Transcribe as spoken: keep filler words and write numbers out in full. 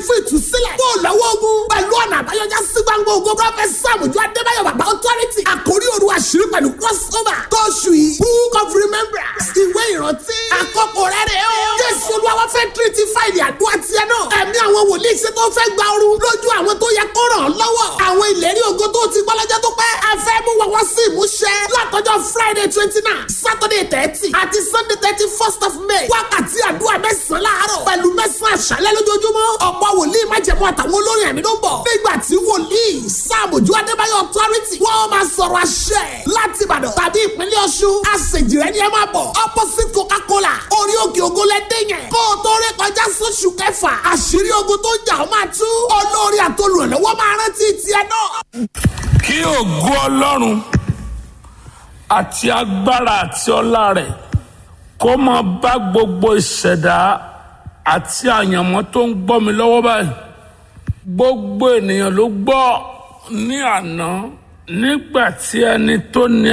fún ìtúsílẹ̀. Kó o lọ́wọ́ ogun. Pẹ̀lú ọ̀nà àbáyọjá sí gbangba ogun. Prọfẹ̀t Sáàmù Jọ Adébáyọ̀ Bàbá Authority. Àkórí òru àṣírí pẹ̀lú crossover. Tóṣù yìí. Book of Remembrance. Ìwé ìrántí. Àkókò rẹ̀ rẹ̀ o. Jésù Olúwa wá fẹ́ tírítì fáìlì àdúrà tiẹ̀ náà. Ẹ̀mí àwọn wòlíì ṣe tó fẹ́ gba ooru lójú àwọn tó yẹ kó ràn án lọ́wọ́. Àwọn ìlérí ògo tó ti gbọ́ lọ́jọ́ tó pẹ́. A fẹ́ mú wọn wá sí ìmúṣẹ. Látọjọ́ Friday twenty nine, Saturday thirty àti Sunday thirty first of May. Wákàtí àdúrà mẹ́sàn-án láàárọ̀ pẹ̀lú mẹ́sàn-án àṣálẹ́ lójoojúmọ́. Ọ̀pọ̀ wòlíì májẹ̀mú àtàwọn olórin ẹ̀mí ló ń bọ̀. Nígbà tí wòlíì Sáàmùjú Adébáyọ̀ Authority wọ́n máa sọ̀rọ̀ àṣẹ láti Ìbàdàn tàbí ìpínlẹ̀ Ọ̀ṣun. Àṣejìrẹ́ ni ẹ máa bọ̀. Opposite Coca-Cola orí òkè ògo lẹ́dẹ̀ yẹn. Kó o tó ré kọjá sóṣù kẹfà. Àṣírí ogun tó ń jà ó máa tú. Olórí àtolùrànlọ́wọ́ máa rántí tiẹ̀ náà. Kí ògo Ọlọ́run àti agbára àti ọlá rẹ̀ kó máa bá gbogbo ìṣẹ̀dá àti àyànmọ́ tó ń gbọ́ mi lọ́wọ́ báyìí. Gbogbo ènìyàn ló gbọ́ ní àná nígbà tí ẹni tó ní